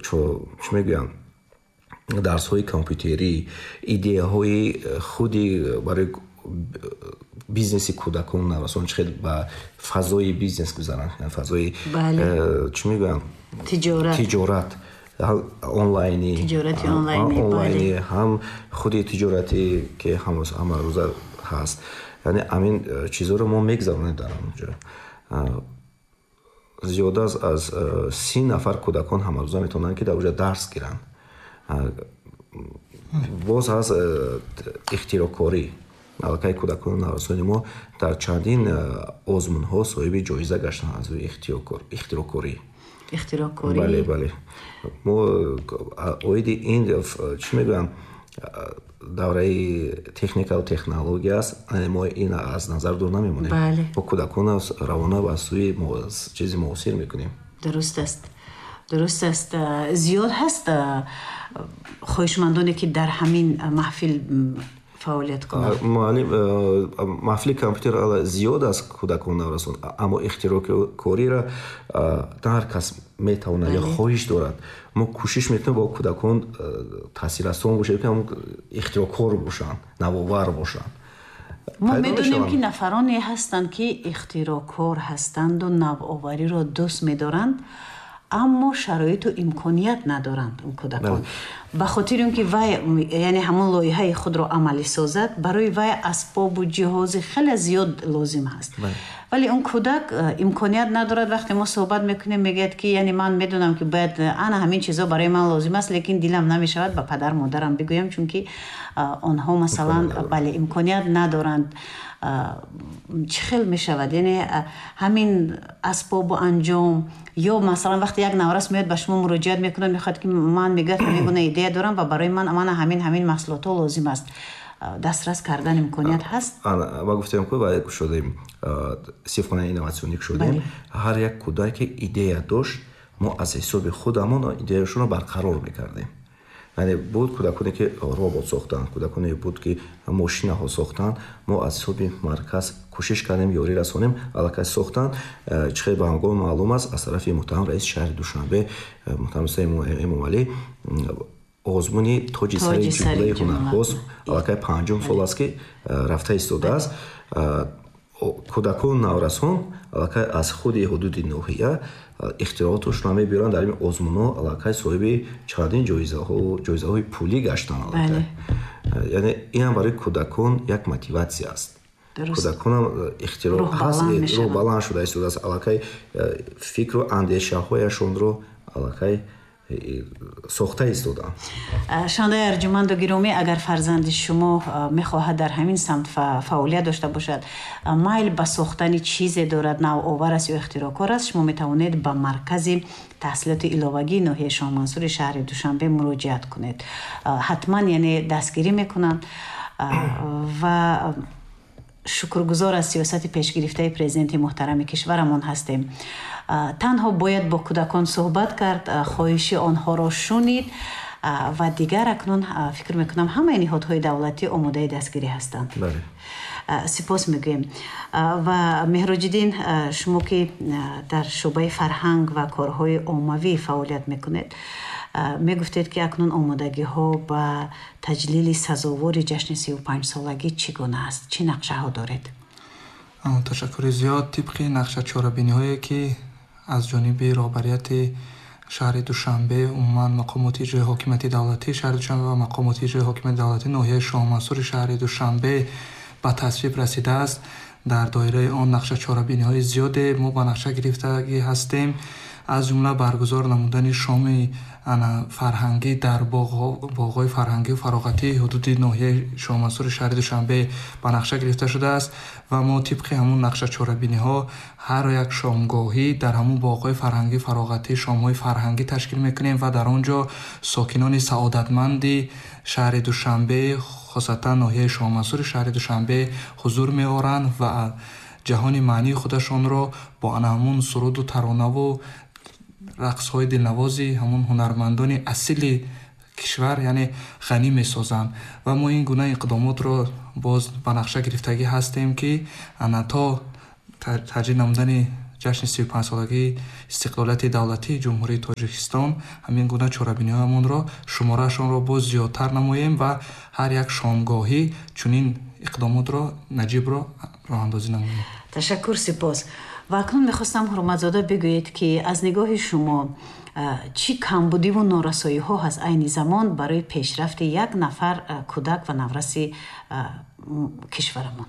Чӣ мегӯям, дарсҳои компютерӣ, идеяҳои худи барои бизнеси кӯдакон, наврасон, чӣ хел ба фазои бизнес гузаранд, фазои, чӣ мегӯям, тиҷорат онлайнӣ, онлайнӣ, ҳам худи тиҷорате, ки ҳамарӯза ҳаст. Яъне ҳамин чизҳоро мо мегузаронем дар онҷо. Зиёда аз 30 нафар кӯдакон ҳамарӯза метавонанд, ки дар онҷо дарс гиранд. Боз ҳаст ихтироъкорӣ. Аллакай кӯдакону наврасони мо дар чандин озмунҳо соҳиби ҷоиза гаштанд аз рӯи ихтироъкорӣ. Ихтироъкорӣ. Бале, бале. Мо оиди ин, чӣ мегӯям, давраи техникаву технология аст, мо ин аз назар дур намемонем. Мо кӯдакон равона ба сӯи чизи муосир мекунем. Дуруст аст, дуруст аст. Зиёд ҳаст хоҳишмандоне, ки дар ҳамин маҳфил фаъолият кунанд? Муаллим, маҳфили компютер зиёд аст кӯдакон, наврасон, аммо ихтироъкориро на ҳар кас метавонад ё хоҳиш дорад. Мо кӯшиш мекунем, бо кӯдакон таъсиррасон бошем, ки ихтироъкор бошанд, навовар бошанд. Мо медонем, ки нафароне ҳастанд, ки ихтироъкор ҳастанду навовариро дӯст медоранд, аммо шароиту имконият надоранд. Он кӯдакон, ба хотири он ки вай, яъне ҳамон лоиҳаи худро амалӣ созад, барои вай асбобу ҷиҳози хеле зиёд лозим ҳаст, вале он кӯдак имконият надорад. Вақте мо суҳбат мекунем, мегӯяд, ки яъне ман медонам, ки бояд ана ҳамин чизо барои ман лозим аст, лекин дилам намешавад ба падар модарам бигӯям, чунки онҳо, масалан, бале, имконият надоранд. Чӣ хел мешавад, яъне ҳамин асбобу анҷом? Ё масалан, вақте як наврас меояд, ба шумо муроҷиат мекунад, мехоҳад, ки ман, мегӯяд, ҳамин гуна идея дорам ва барои ман мана ҳамин маҳсулотҳо лозим аст, дастрас кардан имконият ҳаст? Ма гуфтем, ку ва кушодем синфхонаи инноватсионӣ, кушодем. Ҳар як кӯдаке идея дошт, мо аз ҳисоби худамон идеяшонро барқарор мекардем. Яъне буд кӯдаконе, ки робот сохтанд, кӯдаконе буд, ки мошинаҳо сохтанд. Мо аз ҳисоби марказ кӯшиш кардем, ёрӣ расонем, аллакай сохтанд. Чӣ хел ба ҳамгом маълум аст, аз тарафи муҳтарам раиси шаҳри Душанбе, муҳтарам Рустам Эмомалӣ, озмуни «Тоҷи сари ҷумлаи ҳунарҳост» аллакай панҷум сол аст, ки рафта истодааст. Кӯдакону наврасон аллакай аз худи ҳудуди ноҳия ихтирооташонро мебиёранд дар ин озмунҳо, аллакай соҳиби чандин ҷоизаҳои пулӣ гаштанд аллакай. Яъне инам барои кӯдакон як мотиватсия аст. Кӯдаконам ихтироъ ҳаст, рӯҳ баланд шуда истодааст, аллакай фикру андешаҳояшонро аллакай сохта истоданд. Шунавандаи арҷуманду гиромӣ, агар фарзанди шумо мехоҳад дар ҳамин самт фаъолият дошта бошад, майл ба сохтани чизе дорад, навовар аст ё ихтироъкор аст, шумо метавонед ба маркази таҳсилоти иловагии ноҳияи Шоҳмансури шаҳри Душанбе муроҷиат кунед. Ҳатман, яъне, дастгирӣ мекунанд. Ва шукргузор аз сиёсати пешгирифтаи президенти муҳтарами кишварамон ҳастем. Танҳо бояд бо кӯдакон суҳбат кард, хоҳиши онҳоро шунид ва дигар акнун фикр мекунам, ҳамаи ниҳодҳои давлатӣ омодаи дастгирӣ ҳастанд. Сипос мегӯем. Ва Меҳроҷиддин, шумо ки дар шӯъбаи фарҳанг ва корҳои оммавӣ фаъолият мекунед, мегуфтед, ки акнун омодагиҳо ба таҷлили сазовори ҷашни 35-солагӣ чӣ гуна аст, чӣ нақшаҳо доред? Ташаккури зиёд. Тибқи нақша чорабиниҳое, ки аз ҷониби роҳбарияти шаҳри Душанбе, умуман мақомоти иҷрои ҳокимияти давлатии шаҳри Душанбе ва мақомоти иҷрои ҳокимияти давлатии ноҳияи Шоҳмансури шаҳри Душанбе ба тасвиб расидааст, дар доираи он нақша чорабиниҳои зиёде мо ба нақша гирифтагӣ ҳастем, аз ҷумла баргузор намудани шоми фарҳангӣ дар боғҳои фарҳангию фароғатии ҳудуди ноҳияи Шоҳмансури шаҳри Душанбе ба нақша гирифта шудааст. Ва мо тибқи ҳамун нақша чорабиниҳо ҳар як шомгоҳӣ дар ҳамун боғҳои фарҳангию фароғатӣ шомҳои фарҳангӣ ташкил мекунем ва дар он ҷо сокинони саодатманди шаҳри Душанбе, хосатан ноҳияи Шоҳмансури шаҳри Душанбе, ҳузур меоранд ва ҷаҳони маънии худашонро бо ана ҳамун суруду таронаву рақсҳои дилнавози ҳамун ҳунармандони асили кишвар, яъне, ғанӣ месозанд. Ва мо ин гуна иқдомотро боз ба нақша гирифтагӣ ҳастем, ки ана то таҷлил намудани ҷашни 35-солагии истиқлолияти давлатии Ҷумҳурии Тоҷикистон ҳамин гуна чорабиниҳоямонро шумораашонро боз зиёдтар намоем ва ҳар як шомгоҳӣ чунин иқдомотро наҷибро роҳандозӣ намоем. Ташаккур, сипос. Ва акнун мехостам, Ҳурматзода, бигӯед, ки аз нигоҳи шумо чӣ камбудиву норасоиҳо ҳаст айни замон барои пешрафти як нафар кӯдак ва навраси кишварамон?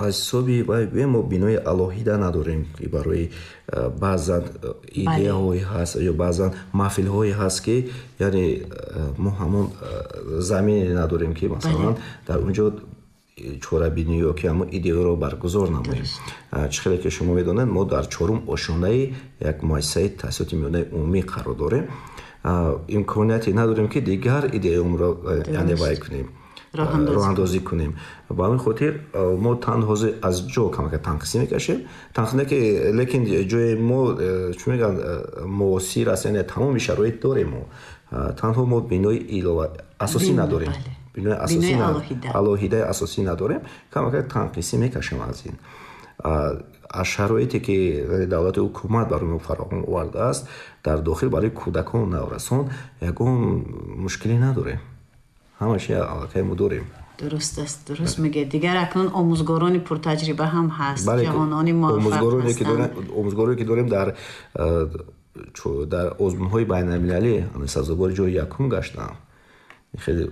Аз ҳисоби вай гӯем, мо бинои алоҳида надорем, ки барои баъзан идеяҳое ҳаст ё баъзан маҳфилҳое ҳаст, ки яъне мо ҳамон замине надорем, ки масалан дар он ҷо чорабинӣ ё ки ҳамон идеяро баргузор намоем. Чӣ хеле ки шумо медонед, мо дар чорум ошёнаи як муассисаи таҳсилоти миёнаи умумӣ қарор дорем. Имконияте надорем, ки дигар идеяамро яъне вай кунем, роҳандозӣ кунем. Ба ҳамин хотир мо танҳо аз ҷо камака танқисӣ мекашем, танқисӣ ки, лекин ҷои мо, чӣ мегӯянд, муосир аст, яъне тамоми шароит дорем. Мо танҳо мо бинои илова асосӣ надорем, бинои асосӣ, алоҳидаи асосӣ надорем, камака танқисӣ мекашем аз ин. Аз шароите ки давлати ҳукумат барои мо фароҳам овардааст, дар дохил барои кӯдакону наврасон ягон мушкиле надорем, ҳама чи аллакай мо дорем. Дуруст аст, дуруст мегӯед. Дигар акнун омӯзгорони пуртаҷриба ҳам ҳаст, ҷавонони муваффақ. Омӯзгороне ки дорем, дар озмунҳои байналмилалӣ сазовори ҷои якум гаштанд. Хеле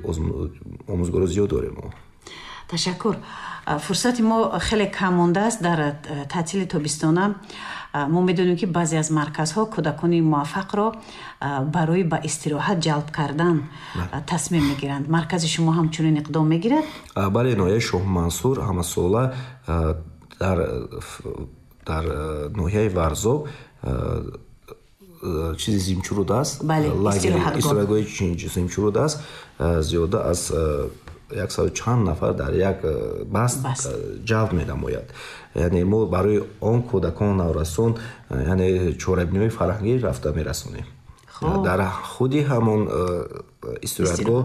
омӯзгоро зиёд дорем мо. Ташаккур. Фурсати мо хеле кам мондааст. Дар таътили тобистона мо медонем, ки баъзе аз марказҳо кӯдакони муваффақро барои ба истироҳат ҷалб кардан тасмим мегиранд. Маркази шумо ҳам чунин иқдом мегирад? Бале, ноҳияи Шоҳмансур ҳамасола дар ноҳияи Варзоб чизи Зимчуруд аст, истироҳатгоҳи Зимчуруд аст, зиёда аз яксаду чанд нафар дар як баст ҷалб менамояд. Яъне мо барои он кӯдакон, наврасон, яъне чорабиниҳои фарҳангӣ рафта мерасонем. Дар худи ҳамон истироҳатгоҳ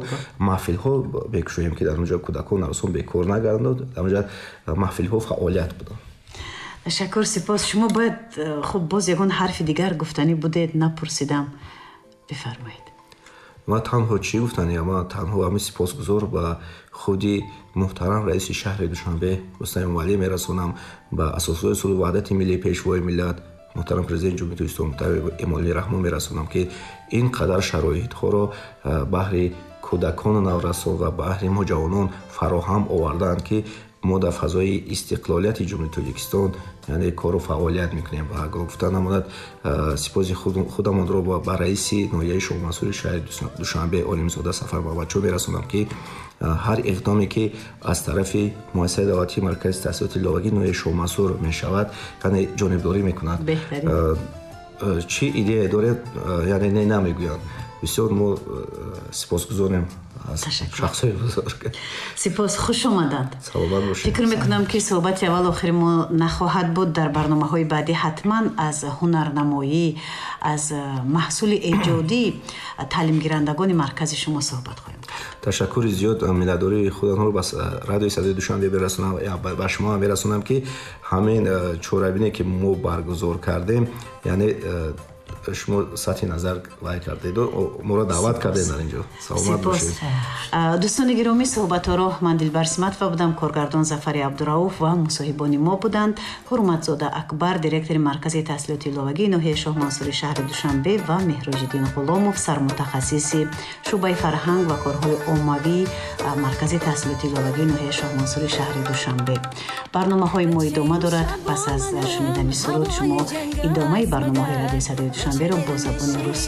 маҳфилҳо мекушоем, ки дар он ҷо кӯдакон, наврасон бекор нагарданд, дар он ҷо маҳфилҳо фаъолият буданд. Ташаккур, сипос. Шумо бояд, хуб, боз ягон ҳарфи дигар гуфтанӣ будед, напурсидам, бифармоед. Ман танҳо чӣ гуфтаниям? Ман танҳо ҳамин сипосгузор ба худи муҳтарам раиси шаҳри Душанбе Рустам Эмомалӣ мерасонам, ба асосгузори сулҳу ваҳдати миллӣ, пешвои миллат, муҳтарам президенти Ҷумҳурии Тоҷикистон муҳтарам Эмомалӣ Раҳмон мерасонам, ки ин қадар шароитҳоро баҳри кӯдакону наврасон ва баҳри мо ҷавонон фароҳам овардаанд, ки мо дар фазои истиқлолияти Ҷумҳурии Тоҷикистон яъне кору фаъолият мекунем. Ва гуфта намонад, сипоси худамонро ба раиси ноҳияи Шоҳмансури шаҳри Душанбе Олимзода Сафар Муҳаммадшоҳ мерасонам, ки ҳар иқдоме ки аз тарафи муассисаи давлатии маркази таҳсилоти иловагии ноҳияи Шоҳмансур мешавад, яъне ҷонибдорӣ мекунад. Чӣ идея доред, яъне не намегӯянд. Бисёр мо сипосгузорем аз шахсҳои бузург. Сипос, хуш омаданд. Саломат бошед. Фикр мекунам, ки суҳбати аввал охири мо нахоҳад буд. Дар барномаҳои баъдӣ ҳатман аз ҳунарнамоӣ, аз маҳсули эҷодии таълимгирандагони маркази шумо суҳбат хоҳем кард. Ташаккури зиёд. Миннатдории худамро ба радиои садои Душанбе мерасонам, ба шумо ҳам мерасонам, ки ҳамин чорабине ки мо баргузор кардем, яъне шумо сатҳи назар вай кардеду моро даъват кардед дар инҷо. Саломат бошед. Дӯстони гиромӣ, суҳбатҳоро ман Дилбар Симатова будам, коргардон Зафари Абдурауф ва мусоҳибони мо буданд Ҳурматзода Акбар, директори маркази таҳсилоти иловагии ноҳияи Шоҳмансури шаҳри Душанбе, ва Меҳроҷиддин Ғуломов, сармутахассиси шӯъбаи фарҳанг ва корҳои оммавии маркази таҳсилоти иловагии ноҳияи Шоҳмансури шаҳри Душанбе. Барномаҳои мо идома дорад. Пас аз шунидани суруд шумо идомаи барномаҳои радиои садои Душанберо бо забони русӣ.